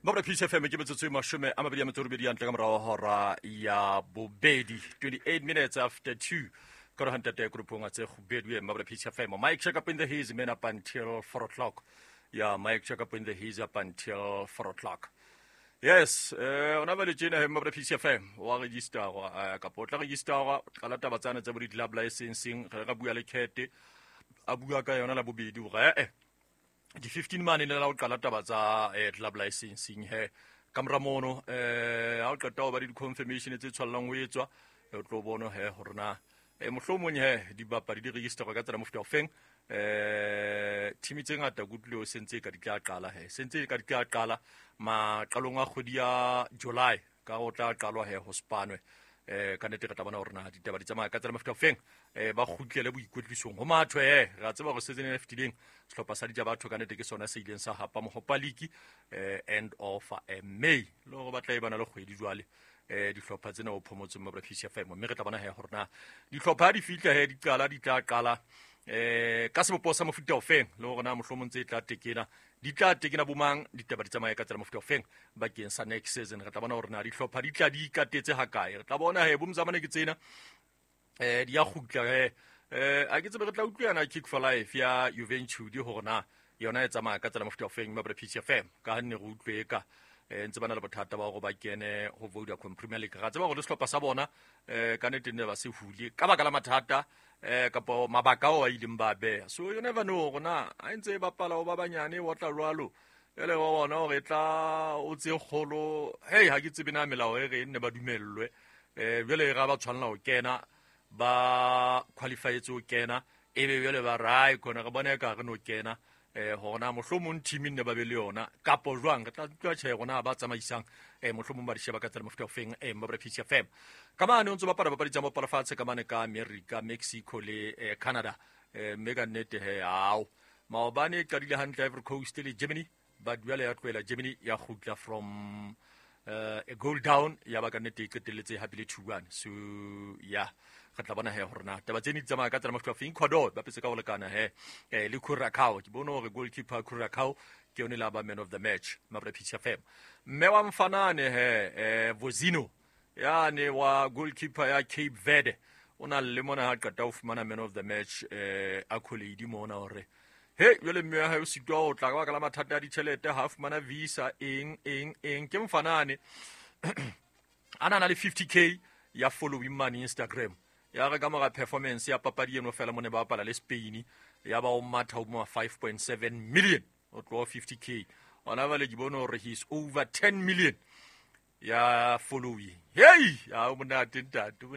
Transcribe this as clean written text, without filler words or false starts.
Mabra Peace FM, ke metsotso e 28 ya ntle ka morago hora ya bobedi, 28 minutes after 2, ka re hantate grupong a tse kgubedu e Mabra Peace FM. Mike check up in the haze man up until 4 o'clock. Yeah, Mike check up in the haze up until 4 o'clock. Yes, ona ba le tjena he Mabra Peace FM wa registerwa, kapa o tla registerwa, qala taba tsane tsa bo di-club licensing. Re ka bua le Kete, a bua ka yona la bobedi hore di-15 mane ne la ho qala taba tsa club licensing he. Ka mora mono, ha o qeta ho ba le di-confirmation tse tshwallang ho etswa, o tlo bona he hore na mohlomong he dibapadi di registerwa ka tsela mofuta ofeng. Team tse ngata ke utlwile o sentse ka di tla qala he, sentse ka di tla qala maqalong a kgwedi ya July, ka go tla qalwa he ho spanwe. Ka nnete re tla bona hore na ditaba di tsamaya ka tsela mofuta ofeng, ba kgutlele boikwetlisong ho mathwe. Re a tseba hore season e fetileng sehlopha sa Ditja Batho ka nnete ke sona se ileng sa hapa Mohopa League end of May, le hore ba tla e bana le kgwedi jwale dihlopha tsena o phomotseng Mabra Peace FM. Mme re tla bona he hore na dihlopha ha di fihla he di qala, di tla qala ka sebopeho sa mofuta ofeng, le hore na mohlomong tse tla tekena di tla tekena bomang, ditaba di tsamaye ka tsela mofuta ofeng bakeng sa next season. Re tla bona hore na dihlopha di tla di ikatetse hakae. Re tla bona he bomzamane ke tsena di ya kgutla he. A ke tsebe, re tla utlwana Kick for Life ya Juventude hore na yona e tsamaya ka tsela mofuta ofeng Mabra Peace FM, ka ha nne re utlwe ka ntse ba na le bothata ba hore ba kene ho Vodacom Premier League. Ra tseba hore le sehlopha sa bona ka nnete ne ba se hule ka baka la mathata kapo mabaka ao a ileng ba beha. So you never know hore na ha e ntse e bapala ho ba banyane wa tla jwalo ele wa bona hore e tla o tse kgolo. Hey, ha ke tsebe na melao e re nne ba dumellwe, jwale ra ba tshwanela ho kena, ba qualifyetse ho kena, ebe jwale ba rai khona re bona e ka re no kena, hore na mohlomong team nne ba be le yona kapo jwang. Re tla utlwa tjhe rona ba tsamaisang, mohlomong ba di sheba ka tsela mofuta ofeng. Mabra Peace FM, ka mane o ntso bapala papadi tsa mopala fatshe ka mane ka America, Mexico le Canada. Mme ka nnete he ao maobane e qadile hantle Ivory Coast le Germany, but jwale ya tlohela Germany ya kgutla from a goal down, ya ba ka nnete e qetelletse hapile 2-1. So yeah, re tla bona he hore na taba tsene di tsamaya ka tsela mofuta ofeng. Ecuador ba petse ka ho lekana he le Curacao. Ke bone hore goalkeeper Curacao ke yone la ba man of the match Mabra Peace FM. Mme wa mfanane he, Vozino yane wa goalkeeper ya Cape Verde, o na le mona ha qeta ho fumana man of the match accolade mona, hore he jwale mme wa hae o sitwa ho tla ka baka la mathata a ditjhelete, ha fumana visa eng eng eng. Ke mfanane a na le 50K ya following mane Instagram, ya re ka mora performance ya papadi eno fela mo ne ba bapala le Spain, ya ba o matha ho ma 5.7 million, o tloha 50K ona bale ke bone hore he is over 10 million ya following. Hey, ya o monate ntate o.